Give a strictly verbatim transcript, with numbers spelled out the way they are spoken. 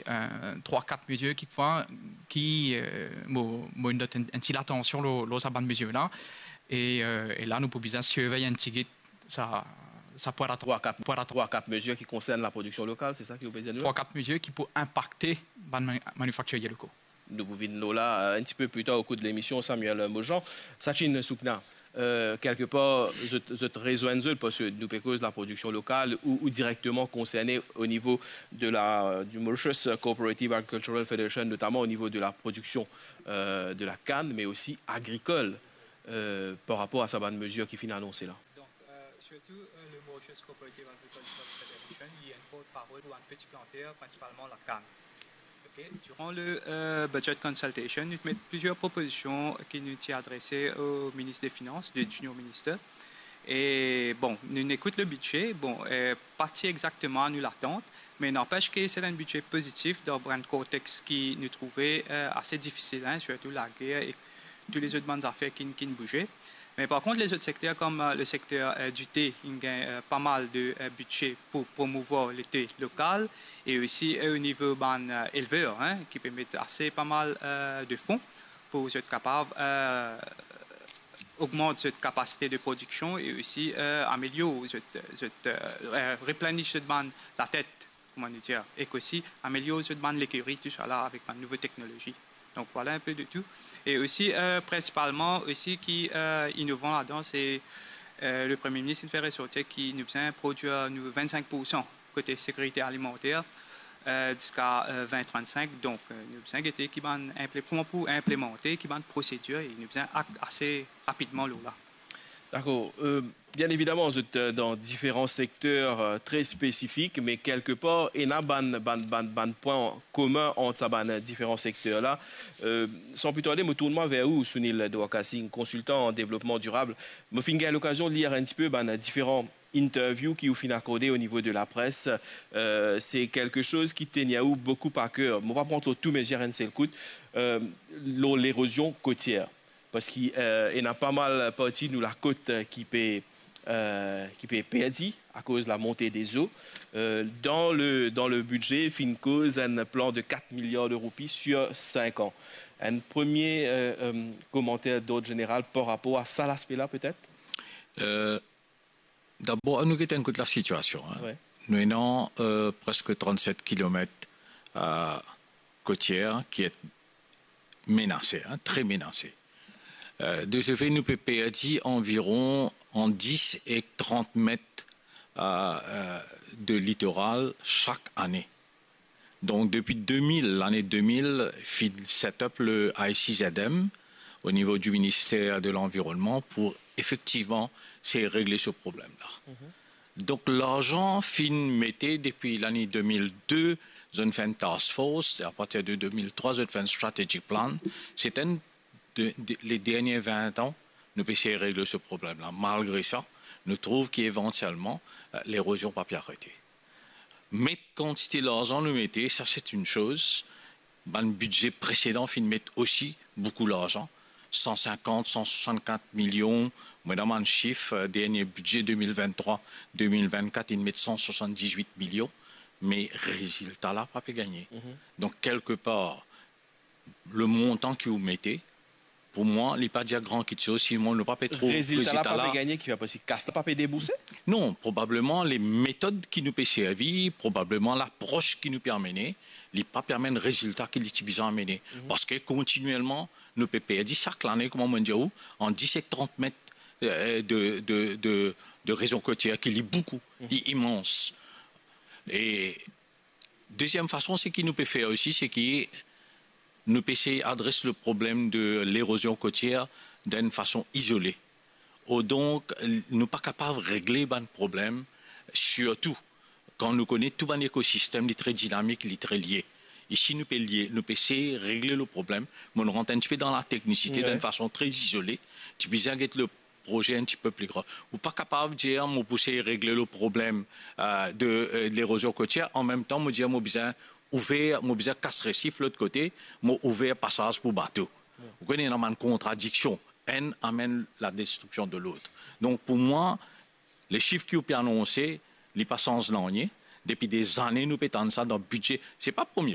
euh, trwa, kat mezir ki, ki, euh, mo, mo inn dot enn, enn ti latansion lor, lor sa bann mezir la. E, euh, e la, nou pou bizin sirvey enn tigit sa, sa pwin latansion. Trwa, kat, trwa, kat mezir ki konsern laprodiksion lokal, se sa ki ou pe dir nou? Trwa, kat mezir ki pou inpakte bann ma-, manifaktirie lokal. Nou pou vinn lor la, euh, enn tipe pli tar o kour de lemision, Samuel Mojan. Sachin Sukna, euh, kelke par, zot, zot rezwenn zot, parski nou pe koz laprodiksion lokal ou, ou direkteman konserne o nivo de la, du Mauritius Cooperative Agricultural Federation, notaman o nivo de laprodiksion, euh, de lakann, me osi agrikol, euh, par rapor a sa bann mezir ki finn anonse la. Donc, euh, surtout, euh, le Mauritius Cooperative Agricultural Federation, li enn portparol pou bann peti planter, prinsipalman lakann. Ok, durant le, euh, budget consultation, nou ti met plizier propozision ki nou ti adrese o minis de finans, de junior minister. E bon, nou ekout le bidze, bon, euh, pa ti exakteman a nou latant, me nanpes ke se enn bidze pozitif dan bann kontex ki nou trouve, euh, ase difisil, hein, sirtou lager e tou lezot bann zafer ki, ki bouze. Me par kont, lezot sekter, kom, euh, le sekter, euh, dite, inn gagn, euh, pa mal de, euh, bidze pou promouvwar lete lokal, e osi, euh, o nivo bann, euh, elver, hein, ki pe met ase pa mal, euh, de fon pou zot kapav, euh, ogmant zot kapasite de prodiksion e osi, euh, amelior zot, zot, euh, euh, replenish zot bann latet, kouma nou dir, ek osi amelior zot bann lekeri, tousala, avek bann nouvo teknolozi. Donc voilà un peu de tout. E osi, euh, prinsipalman osi ki, euh, inovan ladan, se, euh, le Premie Minis inn fer resorti ki nou bizin prodwir nou vinn-sink pour san kote sekirite alimanter, euh, ziska, euh, vinn trant-sink. Donc, euh, nou bizin gete ki bann inple-, kouma pou inplemante, ki bann prosedir, e nou bizin akt ase rapidman lor la. Dakor. Euh, bien évidemment, zot, euh, dan diferan sekter, euh, tre spesifik, me kelke par, ena bann, bann, bann, bann pwin komin ant sa bann diferan sekter la. Euh, san pli tarde, mo tourn mwa ver ou, Sunil Dwarka Singh, konsiltan an devlopman dirab. Mo finn gagn lokazion lir enn tipe bann diferan interview ki ou finn akorde o nivo de lapres. Euh, se kelke soz ki tenir ou boukou a ker. Mo pa pran tro tou, me zis enn sel kout, euh, lor lerozion kotier. Parski, euh, ena pa mal parti nou lakot, euh, ki pe, euh, ki pe perdi akoz lamonte de zo. Euh, dan le, dan le bidze, finn koz enn plan de kat miliar de roupi sir sink an. Enn premie, euh, euh, komanter d'ord zeneral par rapor a sa laspe la, petet? Euh, dabor, nou get enn kout lasitiasion, hein. Ouais. Nou ena, euh, preske trant-set kilomet, euh, kotier ki et menase, hein, tre menase. Euh, de se fe, nou pe perdi anviron ant dis ek trant met, euh, euh, de litoral sak ane. Donc, depi de mil, lane de mil, finn set up le I C Z M o nivo di Minister de Lanvironnman pou efektivman sey regle se problem la. Mhm. Donk, larzan finn mete depi lane de mil de, zot finn fer enn task force, e apartir de de mil trwa, zot finn fer enn strategic plan. Se enn de, de, le dernie vin an, nou pe sey regle se problem la. Malgre sa, nou trouv ki evantielman, eh, lerozion pa pe arete. Met kantite larzan nou mete, sa se enn soz. Bann bidze presedan finn met osi boukou larzan, san sinkant, san swasannkat milion. Mo ena bann sif, eh, dernie bidze de mil vinn-trwa, de mil vinn-kat, inn met san swasann-diz-wit milion, me rezilta la pa pe gagne. Mhm. Donk, kelke par, le montan ki ou mete, pou mwa, li pa dir gran kitsoz, si nou pa pe trouv rezilta la. Rezilta la pa pe gagne, ki fer parski kas la pa pe debourse? Non, probableman le metod ki nou pe servi, probableman lapros ki nou pe amene, li pa pe amenn rezilta ki li ti bizin amene. Mhm. Parski kontinielman, nou pe perdi sak lane, kouma mo dir ou, ant dis ek trant met, eh, de, de, de, de lerozion kotier, ki li boukou, mhm, li imans. E deziem fason, seki nou pe fer osi, seki nou pe sey adres le problem de lerozion kotier dan enn fason izole. Or donk, nou pa kapav regle bann problem, sirtou kan nou kone tou bann ekosistem, li tre dinamik, li tre lie. E si nou pe lie, nou pe sey regle le problem, mo rant enn tipe dan lateknisite, ouais, dan enn fason tre izole, ti bizin get le proze enn tipe pli gran. Ou pa kapav dir, mo pou sey regle le problem, eh, de, eh, lerozion kotier, an mem tan, mo dir, mo bizin ouver, mo bizin kas resif lot kote, mo ouver pasaz pou bato. Ou kone, ena bann kontradiksion. Enn amenn ladestriksion de lot. Donk, pou mwa, le sif ki ou pe anonse, li pa sanz nanye. Depi dezane, nou pe tann sa dan bidze. Se pa premie